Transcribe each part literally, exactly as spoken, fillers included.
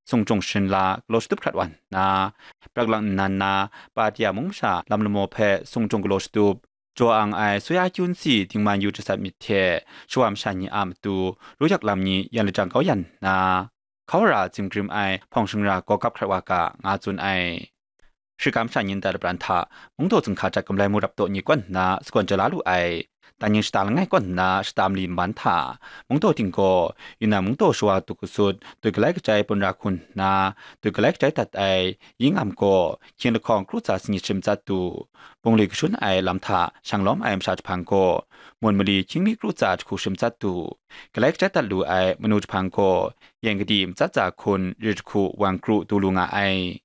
sung jung sharin la galaw shatup hkrat wa nna, prak lang nnan na Patia mung masha lam lamaw hpe sung jung galaw shatup, jaw ang ai Soya Kyun Si dingman yu jasat myit hte shawa masha ni a matu ru yak lam ni yan lajang kau yan nna, hkau ra zim grim ai hpawng shingra gaw gap hkrat wa ga, nga tsun ai. Shikam sha nyin dai labran hta, mungdaw zinghka jat gamlai mu rap taw ni kaw nna sagawn ja la lu ai. Dai ning shata langai kaw nna shata mali nban hta, mungdaw ting gaw, Yunnan mungdaw shawa duk gasut, doi galai kajai bun ra hku nna, doi galai kajai dat ai, yi ngam gaw, hkying lahkawng kru tsa sanit shim tsat du. Bungli kashun ai lam hta shang lawm ai masha jahpan gaw, mun mali hkying mi kru tsa jahku shim tsat du. Galai kajai dat lu ai manu jahpan gaw, yan kadi matsat tsa hkun ri jahku wan kru du lu nga ai.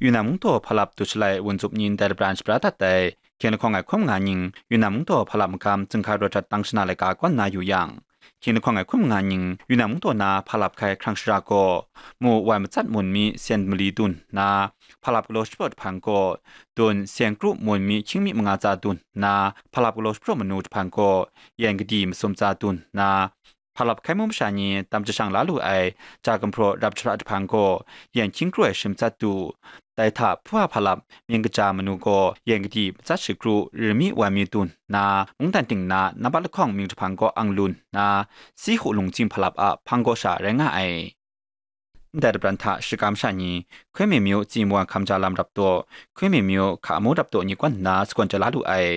Yunnan mungdaw hpa lap dut shalai wun zup nyin dai labran shabra dat ai, hkying lahkawng ai hkum nga ning, Yunnan mungdaw hpa lap magam zinghka rawt jat tang shana laika kaw nna yu yang, hkying lahkawng ai hkum nga ning, Yunnan mungdaw na hpa lap hkai hkrang shara gaw, mu wai matsat mun mi sen mali dun nna, hpa lap galaw shapraw jahpan gaw, dun sen kru mun mi hkying mi manga tsa dun nna, hpa lap galaw shapraw manu jahpan gaw, yan kadi masum tsa dun nna, hpa lap hkai mu masha ni tam jashang la lu ai ja gumhpraw rap jahpra jahpan gaw, yan hkying kru ai shim tsat du. Dai hta hpu a hpa lap myin kaja manu gaw, yan kadi matsat shakru ri mi wai mi dun nna, mungdan ting na nampat lahkawng mying jahpan gaw ang lun nna, si hu lungtsing hpa lap a hpang gaw sha rai nga ai. Ndai labran hta shikam sha ni, Hkoi Min myu tsi mawan hkam ja lam rap taw, Hkoi Min myu hka amu rap taw ni kaw nna sagawn ja la lu ai.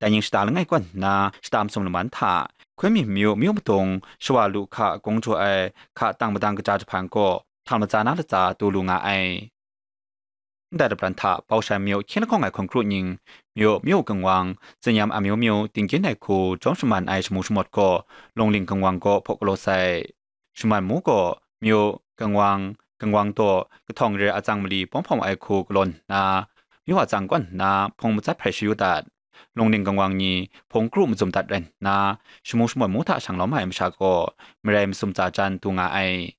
Dai ning shata langai kaw nna shata masum laman hta, Hkoi Min myu myu madung shawa lu hka kung jaw ai hka tang madang kaja jahpan gaw, htal matsa na latsa du lu nga ai. Ndai labran hta Baushan myu hkying lahkawng ai hkun kru ning, myu myu gangwang, zinyam amyu myu tingkyin ai hku jawm shaman ai shamu shamawt gaw, lungling gangwang gaw hpaw galaw sai. Shaman mu gaw, myu, gangwang, gangwang daw, kahtawng re atsang mali pawng hpawng ai hku galaw nna, myu atsang kaw nna hpung matsat hpai shayu dat. Lungning gangwang ni hpung kru mazum dat rai nna, shamu shamawt mu hta shang lawm ai masha gaw, marai masum tsa jan du nga ai.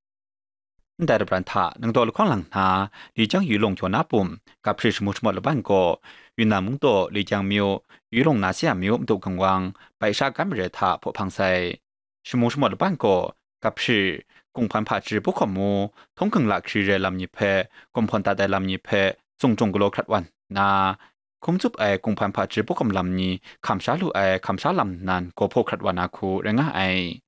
Ndai labran hta nangdaw lahkawng lang nna, Li Jang Yu Lung Yaw Na Pum, Gap Hpri shamu shamawt laban gaw, Yunnan mungdaw Li Jang myu, Yu Lung Na Sya myu madu gangwang, bai sha gan mare hta hpaw hpang sai. Shamu shamawt laban gaw, Gap Hpri, Kung Hpan Hpa Chyeju Pu Hkawm Mu, Htung Hking Lahkri re lam ni hpe, Kum Hpawn Dat ai lam ni hpe, Tsung Jung Galaw hkrat wa nna, hkum tsup ai Kung Hpan Hpa Chyeju Pu Hkawm lam ni hkam sha lu ai hkam sha lam nan gaw hpaw hkrat wa na hku rai nga ai.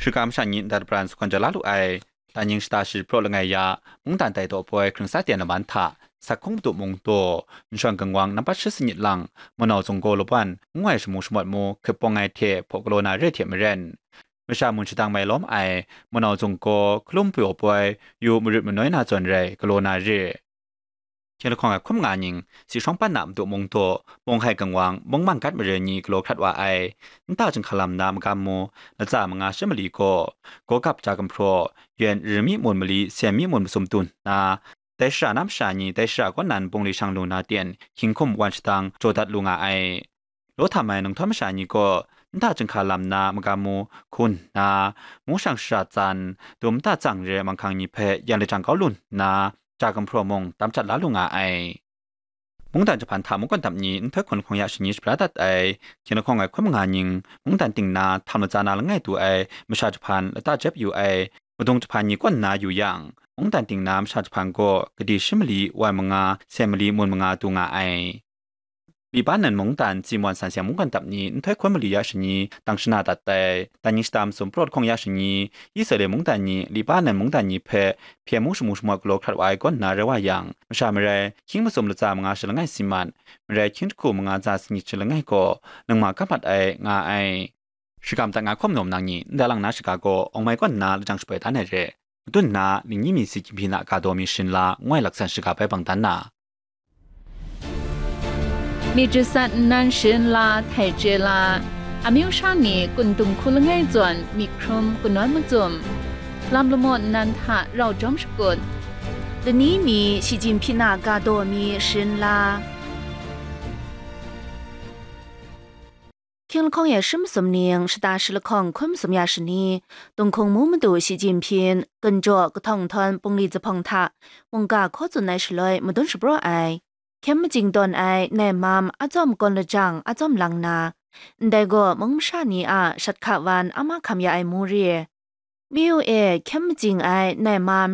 Shikam sha ni ndai labran sagawn ja la lu ai, Dai ning shata shi praw langai ya, mungdan tai daw poi hkring sa ten laman hta, Sak Hkung Madu Mung daw, Nshawn Gangwang nampat shi sanit lang, Manau Zung gaw laban, ngu ai shamu shamawt mu hkip pawng ai hte hpaw galaw na re hte maren, masha mun shadang mai lawm ai, Manau Zung gaw hkalum pyaw poi, yu marit manoi na zawn rai galaw na re. Hkying lahkawng ai hkum nga ning, Si Shawng Pan Na Madu Mung daw, Mung Hai Gangwang, Mung Man Gat Mare ni galaw hkrat wa ai. Nta Jinghka Lam na magam mu, latsa manga shi mali gaw, Gaw Gap Ja Gumhpraw, Yuen Ri Mi Mun Mali, Sen Mi Mun Masum dun nna, dai shara na masha ni dai shara kaw nan bungli shang lu na ten, hkying hkum wan shadang jaw dat lu nga ai. Law htam ai ninghtawm masha ni gaw, Nta Jinghka Lam na magam mu hku nna, mu shang shara tsan, dum nta tsang re manghkang ni hpe yan lajang kau lu nna, Ja Gumhpraw mung tam jat la lu nga ai. Mungdan jahpan hta mungkan dam ni nhtoi hkun hkawng ya shani shabra dat ai, hkying lahkawng ai hkum nga ning, mungdan ting na htam latsa na langai du ai masha jahpan lata jep yu ai, madung jahpan ni kaw nna yu yang, mungdan ting na masha jahpan gaw gadi shi mali wai manga, sen mali mun manga du nga ai. Libanan mungdan Tsimon san seng mungkan dap ni nhtoi hkun mali ya shani tang shana dat ai. Dai ning shata masum praw lahkawng ya shani, Israela mungdan ni Libanan mungdan ni hpe hpyen mu shamu shamawt galaw hkrat wa ai kaw nna rai wa yang, masha marai hkying masum latsa manga shi langai si mat, marai hkying jahku manga tsa sanit shi langai gaw nangma kap mat ai nga ai. Shakam dat nga hkawm nawm nang ni ndai lang na shaga gaw awng mai kaw nna lajang shapoi dan ai re. Madun nna, ningyi mi si chyinghpyi na ga daw mi sharin la, ngu ai laksan shaga bai bang dan na. Myit jasat nnan sharin la, htai chye la, amyu sha ni kun dung hku langai zawn myit hkrum kanawn macum, lam lamaw nnan hta rau jawm shakut, lani mi shi chyinghpyi na ga daw mi sharin la. Hkying lahkawng e shi masum ning shata shi lahkawng hkun masum ya shani, Tunghkung mu madu shi chyinghpyin, gunjaw kahtawng nhtawm bungli zuphpawng hta mungga hkaw tsun ai shaloi madun shapraw ai, hkyem majing tawn ai nai mam a tsawm kawn lajang a tsawm lang na, ndai gaw mung masha ni a shat hka wan a mahkam ya ai mu re. Miyu e hkyem majing ai nai mam